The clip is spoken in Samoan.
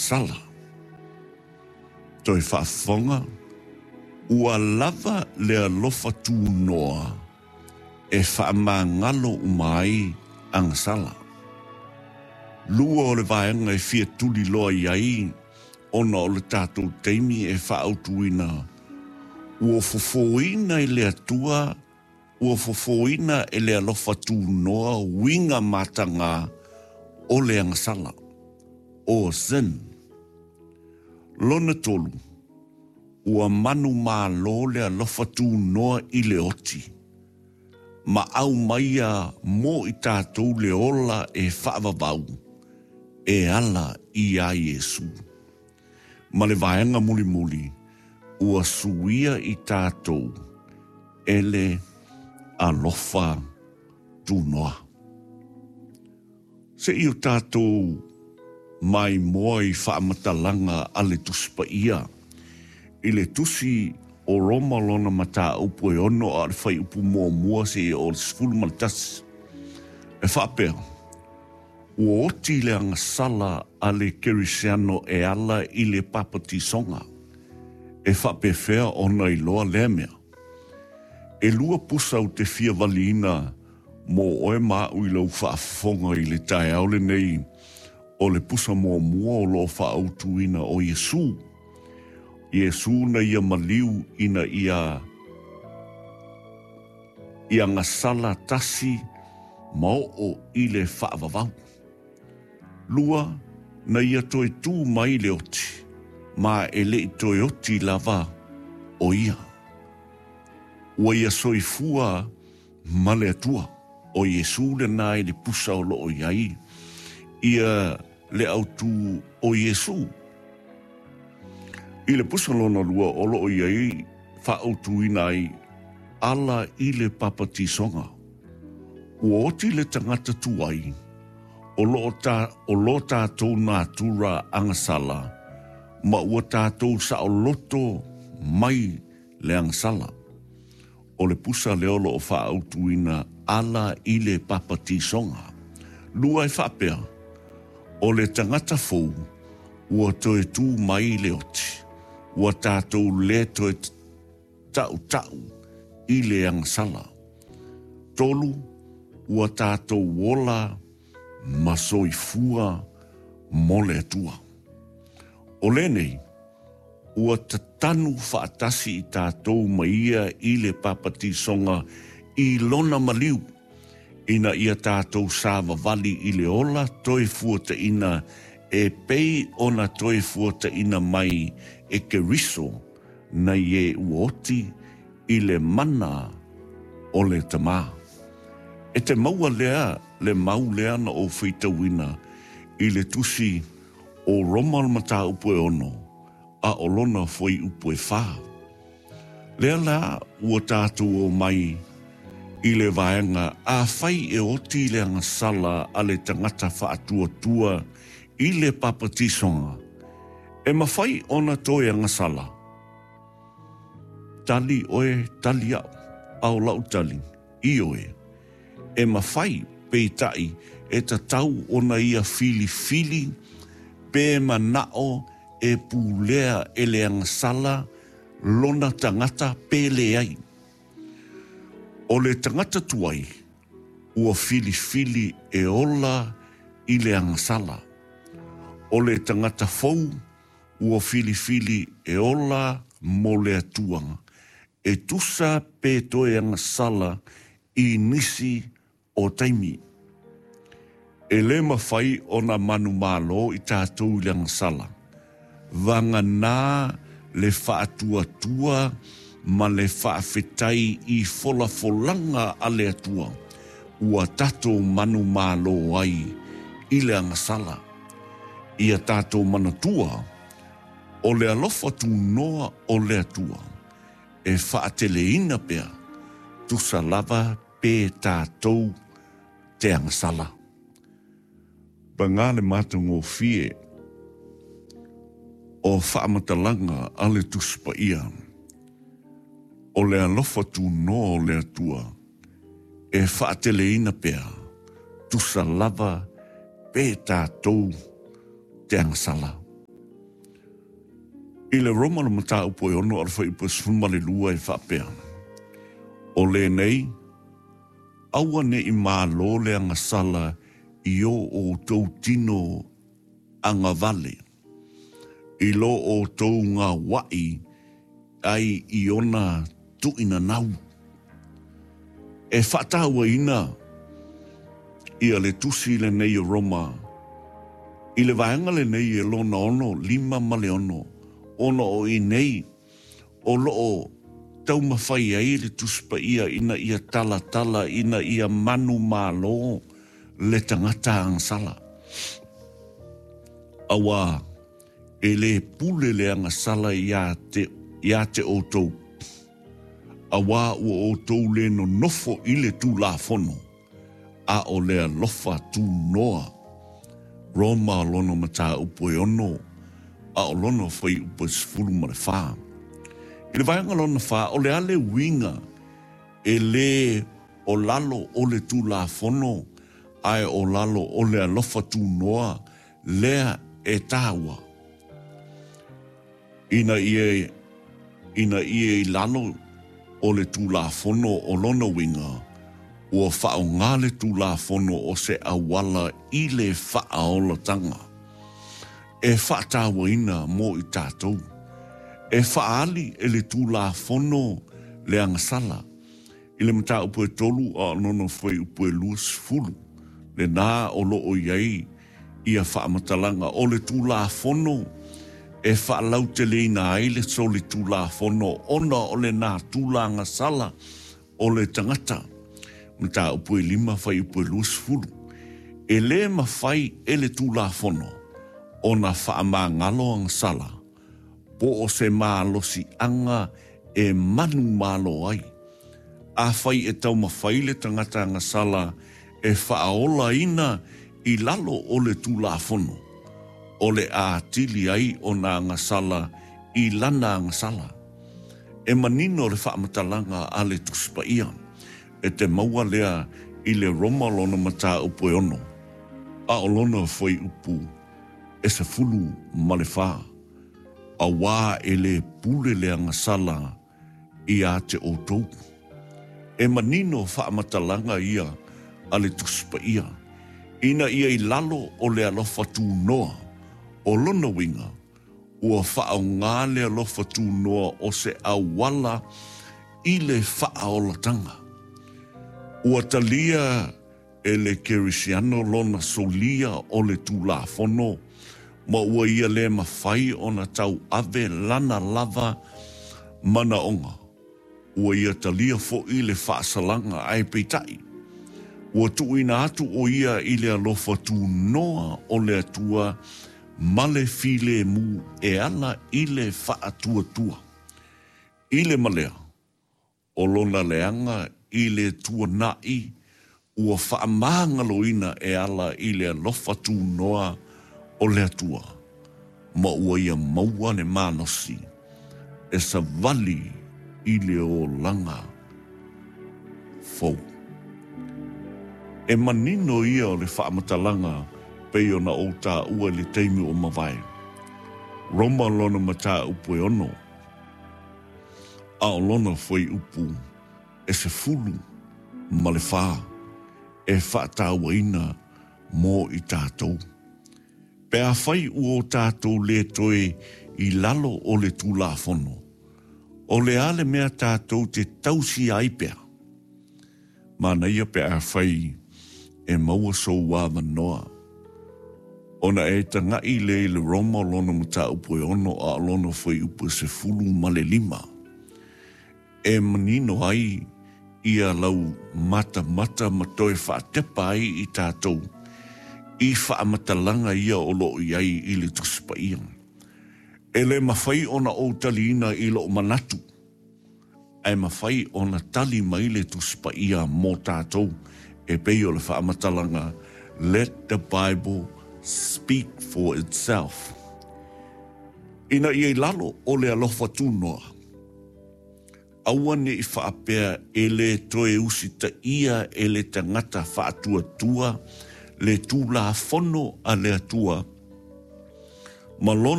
agasala. Toe faafofoga, ua lava le alofa tunoa e faamagalo uma ai agasala. Lua o le vaega e fia tuliloa i ai ona o le tatou taimi e faaautuina ua fofoina e le Atua, ua fofoina e le alofa tunoa uiga mataga o le agasala, o sin. Lona tolu, ua manumalo le alofa tunoa i le oti, ma aumaia mo i tatou le ola e faavavau e ala iā Iesu. Ma le vaega mulimuli, ua suia i tatou e le alofa tunoa. Se i o tatou maimoa i faamatalaga a le Tusi Paia i le Tusi o Roma lona mataupu e 6 a o le fuaiupu muamua seia oo i le 11, e faapea, Ua oti le agasala a le Kerisiano e ala i le papatisoga. E faapefea ona iloa lea mea? E lua pusa ou te fia valiina mō oe ma aʻu i lau faafofoga i le taeao lenei o le pusa muamua o lo o faaautuina o Iesū. Iesū na ia maliu ina ia ia gasala tasi ma oo i le faavavau. Lua, na ia toe tū mai le oti, ma e le i toe oti lava o ia. Ua ia soifua ma le Atua. O Iesū lena i le pusa o lo o i ai ia le autu o Iesū. I le pusa lona lua o lo o i ai faaautuina ai ala i le papatisoga. Ua oti le tagata tuai o lo o ta, o lo tatou natura agasala ma ua tatou saoloto mai le agasala. O le pusa lea o lo o faaautuina ala i le papatisoga. Lua e faapea, o le tagata fou ua toe tū mai le oti, ua tatou le toe taʻutaʻu i le agasala. Tolu, ua tatou ola ma soifua mo le Atua. O lenei, ua tatanu faatasi i tatou ma ia i le papatisoga i lona maliu, ina ia tatou savavali i le ola toe fuataina e pei ona toe fuataina mai e Keriso nai e ua oti i le mana o le Tamā. E te maua lea le mau lea na ou faitauina i le tusi o Roma le mataupu e 6, a o lona fuaiupu e 4. Lea la ua tatou omai i le vaega afai e oti le agasala a le tagata faatuatua i le papatisoga, e mafai ona toe agasala. Tali oe, tali aʻu, a o lau tali, ioe, e mafai, peitai, e tatau ona ia filifili pe manaʻo e pulea e le agasala lona tagata pe leai. O le tagata tuai, ua filifili e ola i le agasala. O le tagata fou, ua filifili e ola mo le Atua, e tusa pe toe agasala i nisi o taimi. E le mafai ona manumalo i tatou i le agasala, vagana le faatuatua ma le faafetai i folafolaga a le Atua ua tatou manumalo ai i le agasala. Ia tatou manatua, o le alofa tunoa o le Atua e faateleina pea, tusa lava pe tatou te agasala. Paga le matagofie o faamatalaga a le Tusi Paia, o le alofa tunoa o le Atua e faateleina pea, tusa lava pe tatou te agasala. I le Roma le mataupu e 6 a o le fuaiupu e 12 e faapea, O lenei, aua ne i malo le agasala i o outou tino agavale, i lo outou gauaʻi ai i ona tuuinanau. E faatauaina ia le tusi lenei o Roma i le vaega lenei e lona 6, 5 ma le 6, ona o i nei o lo o taumafai ai le Tusi Paia ina ia talatala ina ia manumalo le tagata agasala. Auā, e lē pule le agasala iā te, iā te outou, auā ua outou lē nonofo i le Tulafono, a o le alofa tunoa. Roma lona mataupu e 6, a o lona fuaiupu e 14. I le vaega lona 4, o le a le uiga e lē o lalo o le Tulafono ae o lalo o le alofa tunoa lea e taua ina ia ina ia i lalo o le Tulafono o lona uiga ua faaaoga le Tulafono o se auala i le faaolatanga e faatauaina mo i tatou. E faaali e le Tulafono le agasala I le mataupu e 3 a o lona fuaiupu e 20, lenā o lo o i ai ia faamatalaga o le Tulafono e faalauteleina ai le solitulafono ona o lenā tulaga sala o le tagata. Mataupu e 5 fuaiupu e 20. E lē mafai e le Tulafono ona faamagalo agasala po o se malosiaga e manumalo ai. Afai e taumafai le tagata agasala e faaolaina i lalo o le Tulafono, o le a atili ai ona agasala i lana agasala. E manino le faamatalaga a le Tusi Paia, e te maua lea i le Roma lona mataupu e 6, a o lona fuaiupu e 14, auā e lē pule le agasala iā te outou. E manino faamatalaga ia a le Tusi Paia, ina ia i lalo o le alofa tunoa, o lona uiga, ua faaaoga le alofa tunoa o se auala i le faaolatanga. Ua talia e le Kerisiano lona solia o le Tulafono, ma ua ia lē mafai ona tauave lana lava manaoga. Ua ia talia foʻi le faasalaga, ae peitai, ua tuuina atu ʻo ia i le alofa tunoa o le Atua ma le filemu e ala i le faatuatua i le malea. O lona leaga i le tuanaʻi ua faamagaloina e ala i le alofa tunoa o le Atua, ma ua ia maua le malosi e savali i le olaga fou. E manino ia o le faamatalaga pei ona ou taua i le taimi ua mavae. Roma lona mataupu e 6. A o lona fuaiupu e 14 e faatauaina mo i tatou. Pe afai ua o tatou lē toe i lalo o le Tulafono, o le a le mea tatou te tausia ai pea? Manaia pe afai e maua sou avanoa ona e tagaʻi lea i le Roma o lona mataupu e 6 a o lona fuaiupu e 15, e manino ai ia lau matamata ma toe faatepa ai i tatou i faamatalaga ia o lo o i ai i le Tusi Paia. E lē mafai ona ou taliina i lou manatu. Ae mafai ona tali mai le Tusi Paia mo tatou e pei o le faamatalaga Let the Bible speak for itself. Ina ia i lalo o le alofa tunoa, aua ne i faapea e lē toe usitaia e le tagata faatuatua le Tulafono a le Atua ma lona.